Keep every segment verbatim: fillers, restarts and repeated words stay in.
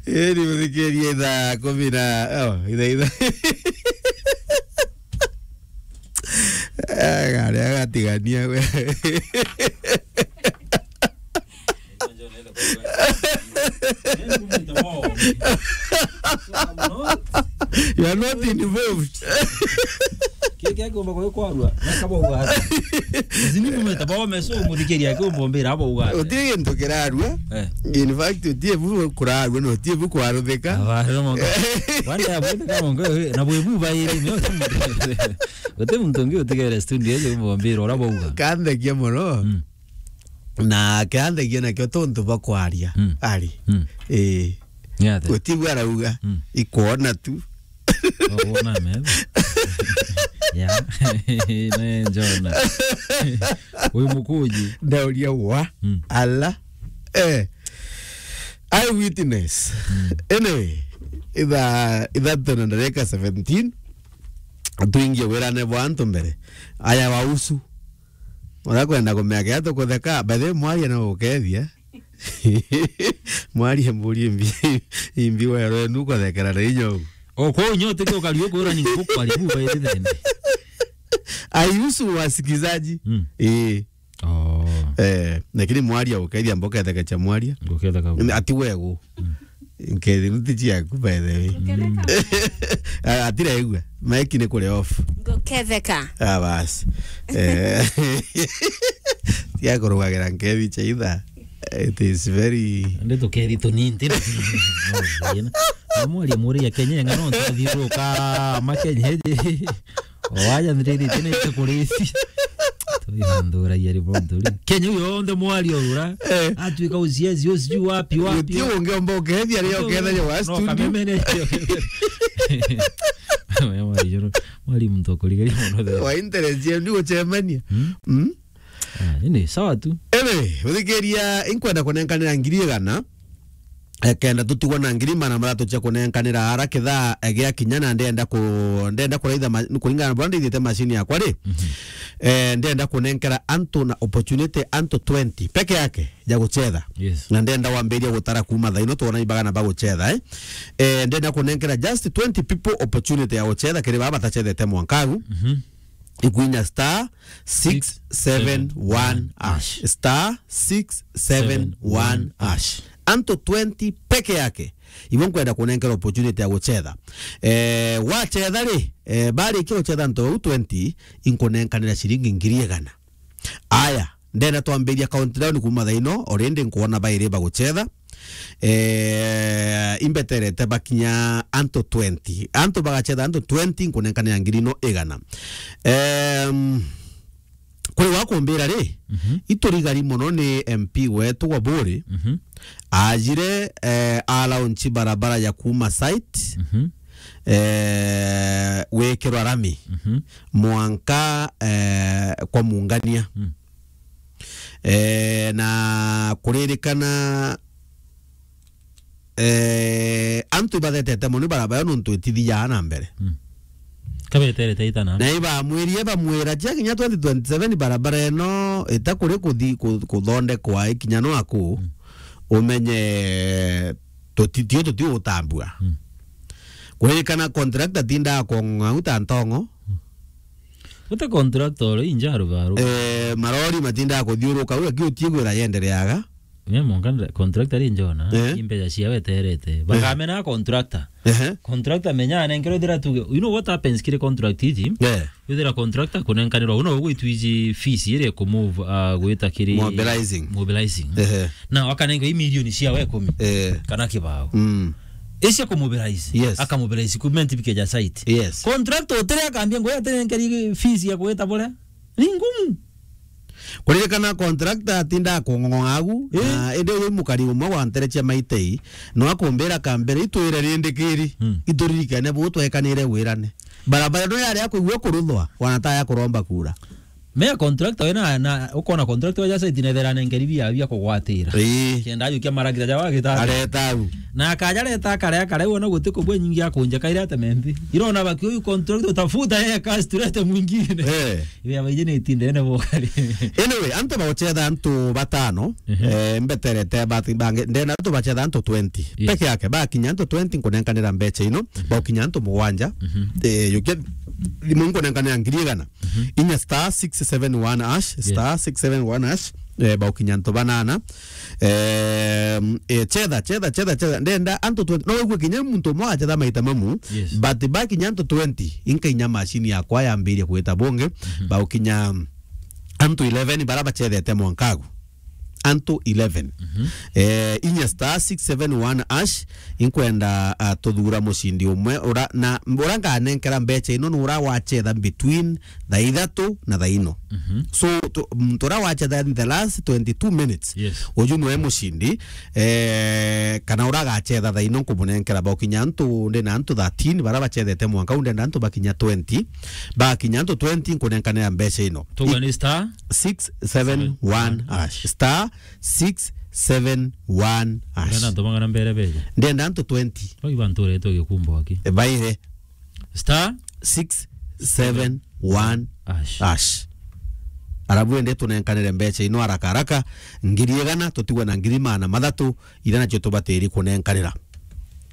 Ii ni muthikiria ithaa kumi na, oh, ithaa, ithaa. Ah, gari agatigania we. You are not involved. Kiki akiumba kwi kwarua, nakabauga ati. Zini mumeta bao meso muthikiria akiumba mbira abauga ati. Uti gintu kirarua. Eh. In fact, uti bu kurarua, no uti bu kwaruthika. Aba, no mongo. Wanda ya bwite kama mongo, na bwe bu bairi, no. Uti muntu ungi utigere studio, akiumba mbira, ora bauga. Kanthegia muno. Mm. Na kianthagia nakio tontu bwa kwaria. Mm. Ari. Mm. Ii. Ni atia? Gutibu arauga. Mm. Ikwona tu. Oh, wona metho. Ya. Ne njona. Uyu mukuji. Ndauria wa. Mm. Ala. Eh. Eye witness. Mm. Anyway, itha, ithatu na ndareka seventeen. Tuingie wirane bwa antu mbere. Aya wa usu. Urakwenda kumea kia tukutheka, by the way, mwaria na gukethia. Mwaria mburi imbi, imbi wero enu kuthekera na inya ugu. O, kwa unyo tike ukari ukwira ni ngukwari bu bairi thene. Aihusu wasikilizaji. Mm. Ii. Oh. Eh, lakini mwaria ukethia mboka ethekacha mwaria. Nguketheka. Ati wegu. Mm. Nkethi nuti ciaku, by the way. Nguketheka. Ah, atiregua. Maiki ni kuri off. Nguketheka. Ah, basi. Eh. Tia kurugagira nkethi cha itha. It is very. Ndi tukethi tunini, nti na. Amwari muri ya Kenya ngano ntathiruka ma Kenya. Waja ndiriri tene kurisi. Tuihanduragia riboti ri. Kenya yonthe mwari ora. Eh. Atuika uciezi ucio wapi, wapi. Uti ungiomba ukethia ri ukethia wa studio. Kamemene. Mwari joro, mwari muntu kurigaria mono. Wa interest ya ni gucemania. Hmm? Hmm? Ah, ini sawa tu. Ebe, uthikiria inkwenda kunenkanira ngiri igana. Eh, kenda tutigwa na ngiri magana mathatu cia kunenkanira ara kithaa, eh, gia kinya, na ndenda ku-, ndenda kuraitha ma-, kuringana na buria ndithite machine yakwa ri. Mhm. Eh, ndenda kunenkera antu na opportunity antu twenty peke yake ya guchetha. Yes. Na ndenda wambiria gutara kuma thaa ino twona ibagana ba guchetha, eh. Eh, ndenda kunenkera just twenty people opportunity ya guchetha kiri baba batachethete mwanka agu. Mhm. Ikwinya star six seven one hash. Star six seven one hash. Antu twenty peke yake. Ibo nkwenda kunenkera opportunity ya guchetha. Eh, wachetha ri, eh, barikia guchetha antu bau twenty, inkunenkanira ciringi ngiri igana. Aya, ndenda twambiria countdown kuma thaa ino, already nkwona bairi baguchetha. Eh, imbeterete bakinya antu twenty. Antu bagachetha antu twenty, nkunenkanira ngiri ino igana. Em, kuri wakumbira ri, mhm, iturigari mono ni M P wetu wa Buri, mhm, ajire, eh, alaunchi barabara ya kuma site, mhm, eh, wikirwa rami, mhm, mwanka, eh, kwa Mungania. Mm. Eh, na kuririkana, eh, antu ibathetete mono barabara nontu itithiaa na mbere. Mm. Kabeterete itana. Na ibamwirie bamwira, cia kinya twenty twenty-seven barabara ino itakuri kuthi-, ku-, kuthondekwa ikinya nwaku, mm, umenye tutitio tutigutambua. Mm. Kuririkana contractor tindaa kong'au ta ntongo. Mm. Uta contractor uri inja rubaru. Eh, marori matindaa kuthiuruka, u aki utiigwira yendereaga. Mia mwanka ndre-, contractor ri njona, eh, imbeca ciawe eterete. Eh. Bakamena contractor. Ehe. Contractor menya anenkerwe thira tuge. You know what happens kiri contract iji? Eh. Withira contractor kunenkanirwa, una ugwitwa iji fees iri ku move, ah, gwita kiri mobilizing. Mobilizing. Ehe. Na wakanenkerwa i milioni ciawe ikumi. Eh. Kana kibao. Mm. Icia ku mobilize. Yes. Aka mobilize equipment bikeja site. Yes. Contractor utire akambia ngo atenenkeri fees ya gwita buria. Ni ngumu. Kuririkana contractor atindaa kung'ong'ong'a agu, eh, na indi uyu mukari umwe wa ntere cia Maitei, no akumbira kambere, itwire rindi kiri, hmm, ituririkane bu twekanire wirane. Barabara ino yari ya kuigua kuruthwa, wana ta ya kuromba kura. Me contractor we na, na ukona contractor wa site nethera nengeri bia, bia kugwatira. Ii. Kenda ajukia maragita ja wagitari. Areta au. Na akaja reta akarea, akarea, wona guti kubwe nyingi akunja kaira ate menthi. Irona baki uyu contractor utafuta yeye kasi turete mwingine. Eh. Ibe abaije ni itindene bokari. Anyway, antu bauchetha antu batano, Ehe. eh, mbeterete bati bange, ndena antu bachetha antu twenty. Yes. Peke yake, bakinya antu twenty nkunenkanira mbecha ino, Mhm. baukinya antu mugwanja. Mhm. Eh, yukia thimu nkunenkanira ngiri igana. Mhm. Inya star six seven one hash, Yes. star six seven one hash, eh, baukinya antu banana. Eh, eh, chetha, chetha, chetha, chetha. Ndenda antu twenty, no wigue kinya muntu umwe achetha maita mamu, Yes. but bakinya antu twenty, inkainya machine yakwa yambirie kwita bungi, Mhm. baukinya antu eleven bara bachethete mwankagu. Antu eleven. Mhm. Eh, inya star six seven one hash, inkwenda, ah, tuthura mucindi umwe, ura, na ura nganenkera mbecha ino ni ura wachetha between thaa ithatu na thaa ino. Mhm. So, tu, muntu ura wachetha in the last twenty-two minutes, Yes. uju niwe mucindi, eh, kana ura agachetha thaa ino nkumunenkera baukinya antu, ndina antu thirteen bara bachethete mwanka, u ndenda antu bakinya twenty, bakinya antu twenty nkunenkanira mbecha ino. Tugwa ni star? six seven one hash. Star six seven one hash. Ndenda antu bang'ana mbere beje? Ndenda antu twenty. Bagi bantu retwe gikumbo aki. E, baire. Star? six seven one hash. Hash. Arabu ende tunenkanire mbecha ino haraka haraka, ngiri igana, tutigwe na ngiri maana mathatu, ira nacio tubatiri kunenkanira.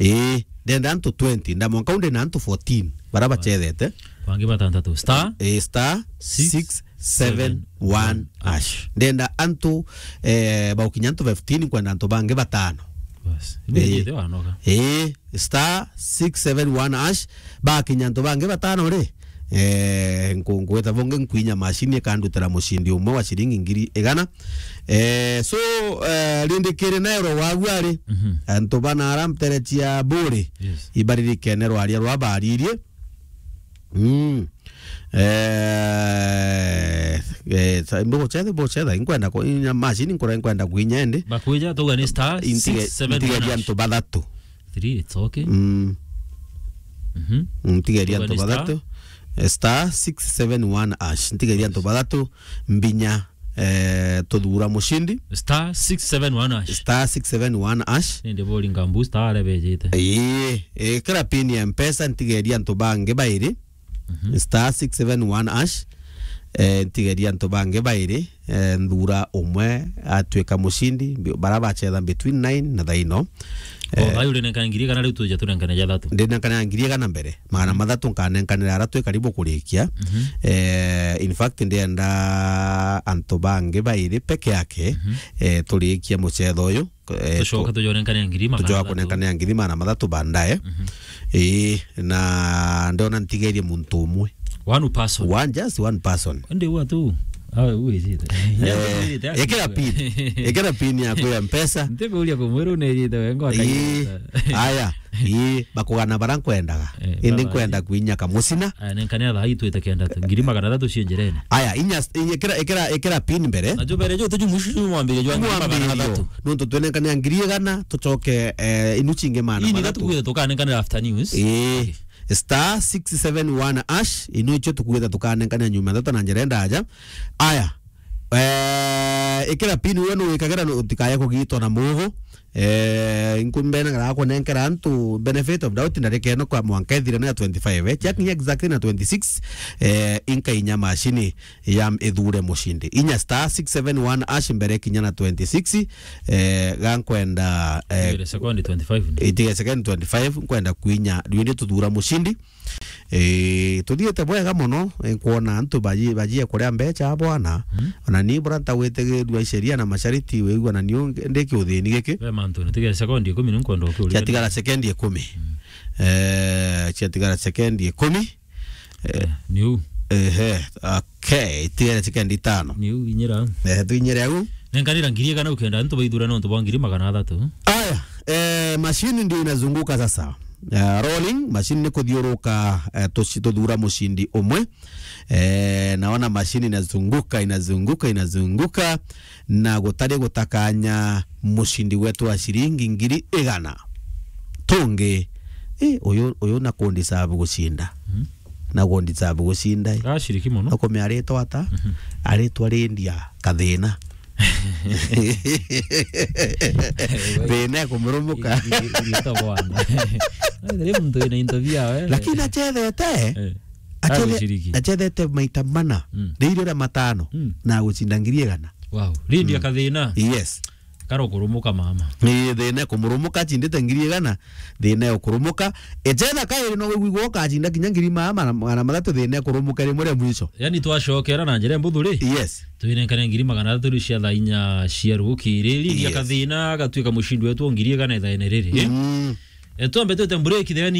Ii, ndenda antu twenty, ndamwanka unde na antu fourteen, bara bachethete. Bangi batantatu. Star? Ii, star six seven one hash. Ndenda antu, eh, baukinya antu fifteen, nkwenda antu bangi batano. Bas. Ii. Nijite wanoga. Ii, star six seven one hash, bakinya antu bangi batano ri, eh, nku-, nkwita bungi nkwinya machine ikandutira mucindi umwe wa ciringi ngiri igana. Eh, so, eh, rindikiri nairo wagu ari, Mhm. antu bana ara mterechi ya buri, Yes. ibaririkene rwaria rwa baririe. Mm. Eh, eh, sa-, mbuguchetha, mbuguchetha, inkwenda ku-, inya machine nkura inkwenda kwinya indi. Bakwija, tuga ni star Intige-, six seven one ntigeria hash. Antu bathatu. Three, it's okay. Mm. Mhm. Ntigeria Tuga antu ni star? Bathatu. Eh, star six seven one hash. Ntigeria antu bathatu mbinya, eh, tuthura mucindi. Star six seven one hash. Star six seven one hash. Nindi boringa mbu star are bejite. Ii, ikira pin ya Mpesa, ntigeria antu bangi bairi. Mhm. Star six seven one hash. Eh, ntigeria antu bangi bairi, eh, nthura umwe atwika mucindi, mbi-, bara bachetha between nine na thaa ino. Oh, eh, bai urinenka ngiri igana riu tuja tunenkane ja thatu. Ndinenkane ngiri igana mbere. Magana Mhm. mathatu nkanenkanira ara twi karibu kurikia. Mhm. Eh, in fact, ndienda antu bangi bairi peke yake, Mhm. eh, turikia muchetho uyu. Eh, tucoka tu-, tujonenkane ngiri magana tucoka mathatu. Kunenkanira ngiri magana mathatu baadaye. Mhm. Ii, na ndona ntigerie muntu umwe. One person. One, just one person. Ndi wa tu. Awe uwe jite. Eh, ekera pin. Ekera pin yaku ya Mpesa. Ntiburia kumwiru ni jite wengo. Ii, aya. Ii, bakugana bara nkwendaga. Eh, indi baba, nkwenda ii. Kwinya kamucina. Aya, nenkane thaa itwite kenda tu. Ngiri magana mathatu cie njirene. Aya, inya, inya, ekera, ekera, ekera pin mbere. Na jubere jo tuju mushu mwambire jo ngiri magana mathatu. Mwambire jo. Nontu twenekane ngiri igana, tucoke, eh, inu cingi magana mathatu. Ii, ni gatu kwire tukanenkanira after news. Ii. Okay. Star six seven one hash, inu icio tukwire tukanenkanira nyuma thata na njira ndaja. Aya. Eh, ikira pin we no wikagira no utikaye kugitwa na mugo. Eh, inkumbena gara kunenkera antu benefit of doubt ndarikeno kwa mwanka ithire na twenty-five, eh, ciakinya exactly na twenty-six, eh, inkainya machine ya ithure mucindi. Inya star six seven one hash mbere kinya na twenty-six, eh, gankwenda, eh, itige sekondi twenty-five. Itige sekondi twenty-five, nkwenda kwinya, riu ndi tuthura mucindi. Eh, tuthiite bwega mono, eh, nkwona antu baji-, bajie kuria mbecha bwana. Mm. Ona ni bura ntagwite githua sheria na mashariti, wigua na niu ndi kiuthini giki. Be mantu, ni tige sekondi ikumi ni nkwenda ukiuria. Ciatigara sekondi ikumi. Mm. Eh, ciatigara sekondi ikumi. Eh, eh, niu. Ehe, okay, tigere sekondi itano. Niu inyira. Eh, tuinyire au. Nenkanira ngiri igana ukenda antu baithura nontu bwa ngiri magana athatu. Aya, eh, machine ndio inazunguka sasa. Eh, rolling, machine ni kuthiuruka, eh, tuci-, tuthura mucindi umwe. Eh, naona machine inazunguka, inazunguka, inazunguka, na gutari gutakanya mucindi wetu wa ciringi ngiri igana. Tungi, eh, uyu, uyu na kundi sabu gucinda. Mm. na go deserve gucinda i. Gaciriki mono. Akumia aritwa ata? Mhm. Aritwa Lydia Kathina. Thina ikumurumuka. Iri-, iri-, irieta bwana. Ri muntu wina into biawe. Lakini acethete, eh, acethe-, agwiciriki. Acethete maita mana. Mm. Riria matano. Mm. Na agucinda ngiri igana. Wow. Lydia Kathina. Yes. Karo kurumuka mama. Ni thina ikumurumuka, acindite ngiri igana, thina ikurumuka. Ecetha kairi no wigua ukacinda kinya ngiri ma-, magana, magana mathatu, thina ikurumuka rimwe ria mwisho. Yani twacokera na njira mbuthu ri? Yes. Twinenkane ngiri magana athatu riu cia thaa inya cia rukiri. Lydia Kathina agatuika mucindi wetu wa ngiri igana ithaene riri. Mm. Eh, twambe twite break, then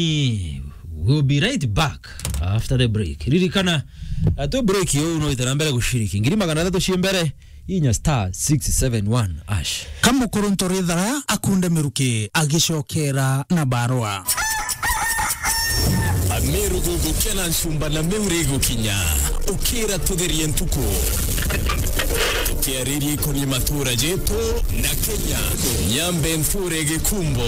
we'll be right back after the break. Ririkana, eh, twi break uu no wite na mbere guciriki. Ngiri magana athatu cia mbere, inya star six seven one hash. Ka mukuruntu rithara akunde miruki agicokera na barua. Ameru gugukia na ncumba na miuri igukinya. Ukira tutherie ntuku. Tukiariria ikoni matura jetu na Kenya. Nyambe nthure gikumbo.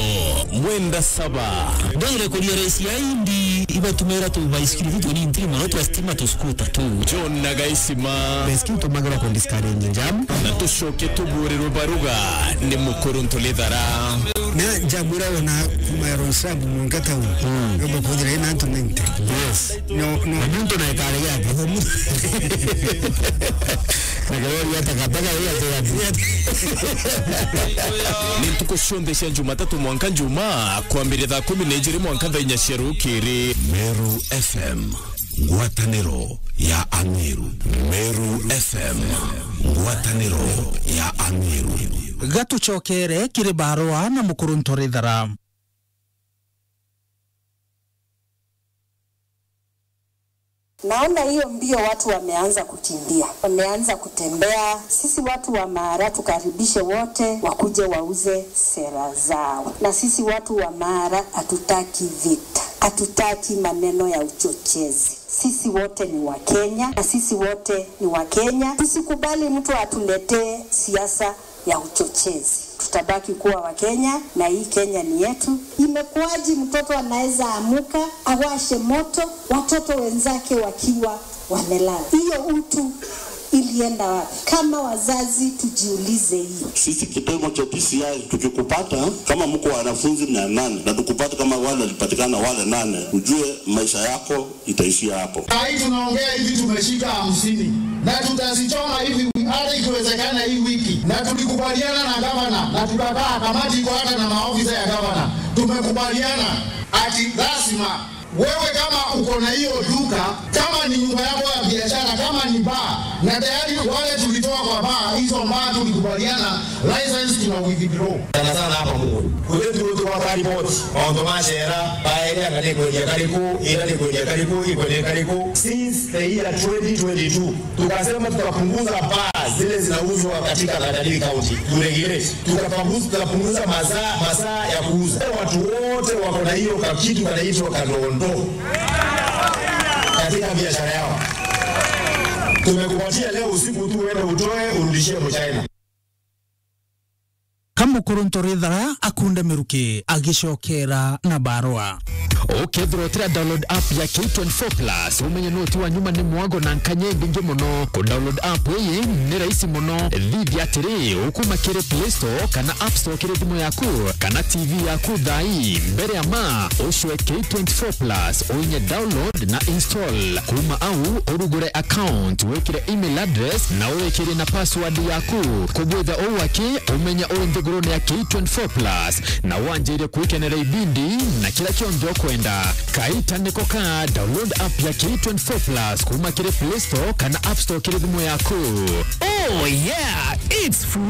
Mwenda saba. Ndwire kuria raisi ya indi ibatumira tu baisikiri tu ni ntiri mono twa stima tu skuta tu. John na Gaisima. Baisikiri tumagira ku discourage jam. Na tucoke tuburirwe baruga ni mukuruntu lithara. Na njamwira ona kuma ya Roysambu mwanka town. Mm. Ngomba kuthira ina antu ninety. Yes. No, no. Na muntu na ikare yake. Na kirori ya takataka hiyo tu. Ni ntuku cionthe cia Jumatatu mwanka Njumaa, kwambiria thaa kumi na ijiri mwanka thaa inya cia rukiri. Meru F M, ngwataniro ya Ameru. Meru F M, ngwataniro ya Ameru. Gatucokere kiri barua na mukuruntu rithara. Naona hiyo mbio watu wameanza kukimbia, wameanza kutembea. Sisi watu wa Maara tukaribishe wote wakuje wauze sera zao. Na sisi watu wa Maara hatutaki vita, hatutaki maneno ya uchochezi. Sisi wote ni Wakenya, na sisi wote ni Wakenya. Tusikubali mtu atuletee siasa ya uchochezi. Tutabaki kuwa Wakenya na hii Kenya ni yetu. Imekuwaje mtoto anaweza amuka, awashe moto, watoto wenzake wakiwa wamelala? Hiyo utu ilienda wapi? Kama wazazi tujiulize hiyo. Sisi kitengo cha D C I tukikupata, kama mko wanafunzi mia nane na tukupata kama wale walipatikana wale nane, ujue maisha yako itaishia hapo. Saa hii tunaongea hivi, tumeshika hamsini na tutazichoma hivi, hata ikiwezekana hii wiki. Na tulikubaliana na gavana na tukakaa, kamati iko hata na maofisa ya gavana, tumekubaliana ati lazima wewe kama uko na hiyo duka, kama ni nyumba yako ya biashara, kama ni bar, na tayari wale tulitoa kwa bar, hizo bar tulikubaliana license tuna withdraw. Sana sana hapa Mungu. Kwetu tukawa ripoti. Maundu ma shera, baeria kana ni kwendia kariku, ira ni kwendia kariku, ikwendia kariku. Since the year twenty twenty-two, tukasema tutapunguza baa zile zinauzwa katika Tharaka Nithi County. Turegulate. Tukapunguza, tukapunguza masaa, masaa ya kuuza. Watu wote wako na hiyo ka-, kitu kanaitwa kanondo katika biashara yao. Tumekupatia leo usiku tu, uende utoe, urudishie Mchina. Ka mukuruntu rithara akunde miruki agicokera na barua. Ukethirwa utira download app ya K twenty-four plus, umenye noti wa nyuma ni mwago na nkanya ibingi muno. Ku download app iyi ni rahisi muno. Thithia atiri, ukuma kiri Play Store kana App Store kiri thimu yaku kana T V yaku thaa ii. Mbere ya ma, ucwe K twenty-four plus, uinye download na install. Kuma au, urugure account, wikire email address na uwikirie na password yaku. Kugwitha uu aki, umenye uri nthigurune ya K twenty-four plus na wanjirie kwikenera ibindi na kira kionthe ukwenda. Kaita niko ka, download app ya K twenty-four plus kuma kiri Play Store kana App Store kiri thimu yaku. Oh yeah, it's free.